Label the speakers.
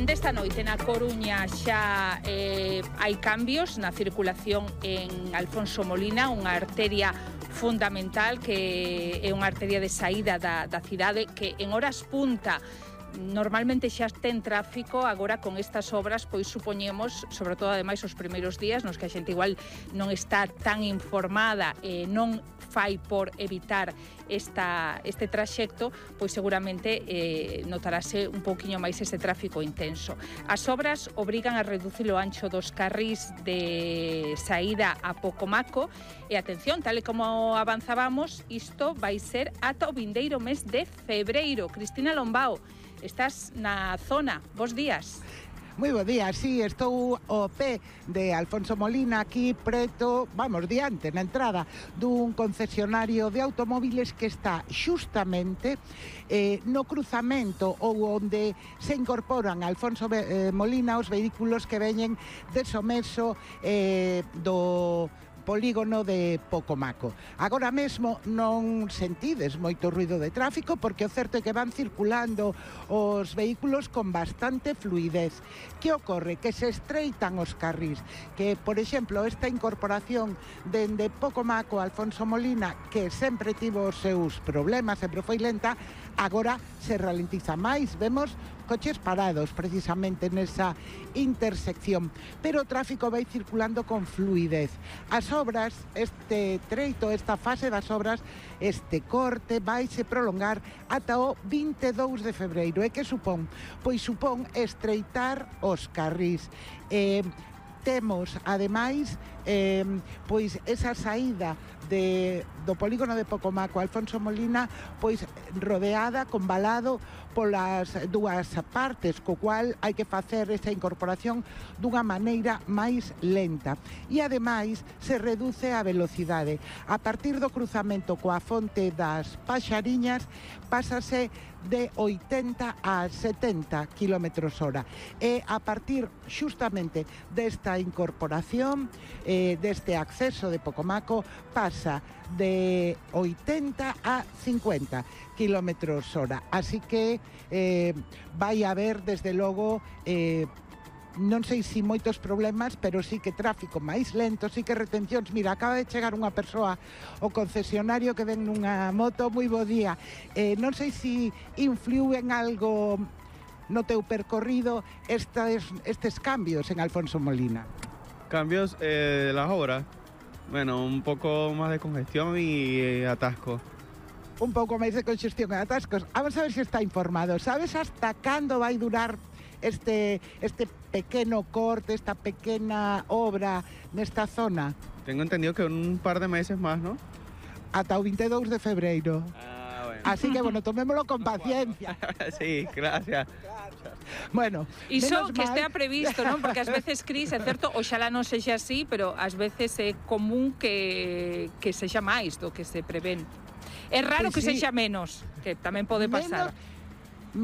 Speaker 1: Dende esta noite na Coruña xa hai cambios na circulación en Alfonso Molina, unha arteria fundamental que é unha arteria de saída da cidade que en horas punta normalmente xa ten tráfico. Agora con estas obras pois supoñemos, sobre todo ademais os primeiros días nos que a xente igual non está tan informada e non fai por evitar este traxecto, pois seguramente notarase un pouquiño máis ese tráfico intenso. As obras obrigan a reducir o ancho dos carrís de saída a Pocomaco e atención, tal e como avanzábamos, isto vai ser ata o vindeiro mes de febreiro. Cristina Lombao, estás na zona, bos días.
Speaker 2: Moi bo día, sí, estou ao pé de Alfonso Molina, aquí preto, vamos, diante, na entrada dun concesionario de automóviles que está xustamente no cruzamento ou onde se incorporan a Alfonso Molina os vehículos que veñen de Someso do polígono de Pocomaco. Agora mesmo non sentides moito ruido de tráfico porque o certo é que van circulando os vehículos con bastante fluidez. Que ocorre? Que se estreitan os carrís, que, por exemplo, esta incorporación dende Pocomaco a Alfonso Molina, que sempre tivo os seus problemas, sempre foi lenta, agora se ralentiza máis. Vemos coches parados precisamente nesa intersección, pero o tráfico vai circulando con fluidez. As obras, este treito, esta fase das obras, este corte vaise prolongar ata o 22 de febreiro. E que supón? Pois supón estreitar os carrís. Temos, ademais, pois esa saída do polígono de Pocomaco a Alfonso Molina pois rodeada, convalado polas dúas partes, co cual hai que facer esa incorporación dunha maneira máis lenta. E ademais se reduce a velocidade. A partir do cruzamento coa fonte das Paxariñas pásase de 80 a 70 km/h. E a partir xustamente desta incorporación, deste acceso de Pocomaco, pasa de 80 a 50 km/h. Así que vai haber, desde logo, non sei se moitos problemas, pero sí que tráfico máis lento, sí que retencións. Mira, acaba de chegar unha persoa ao concesionario que ven nunha moto. Moi bo día. Non sei se influiu en algo no teu percorrido estes cambios en Alfonso Molina.
Speaker 3: Cambios de las obras. Bueno, un poco más de congestión y atasco.
Speaker 2: Un pouco máis de congestión e atascos. Vamos a ver se está informado. Sabes hasta cando vai durar este pequeno corte, esta pequena obra nesta zona?
Speaker 3: Tengo entendido que un par de meses más, ¿no?
Speaker 2: Ata o 22 de febreiro.
Speaker 3: Bueno.
Speaker 2: Así que, bueno, tomémolo con paciencia.
Speaker 3: Sí, gracias.
Speaker 2: Bueno,
Speaker 1: iso que estea previsto, non? Porque ás veces, Cris, é certo, oxalá non sexa así, pero ás veces é común que sexa máis do que se prevén. É raro que sexa menos, que tamén pode pasar.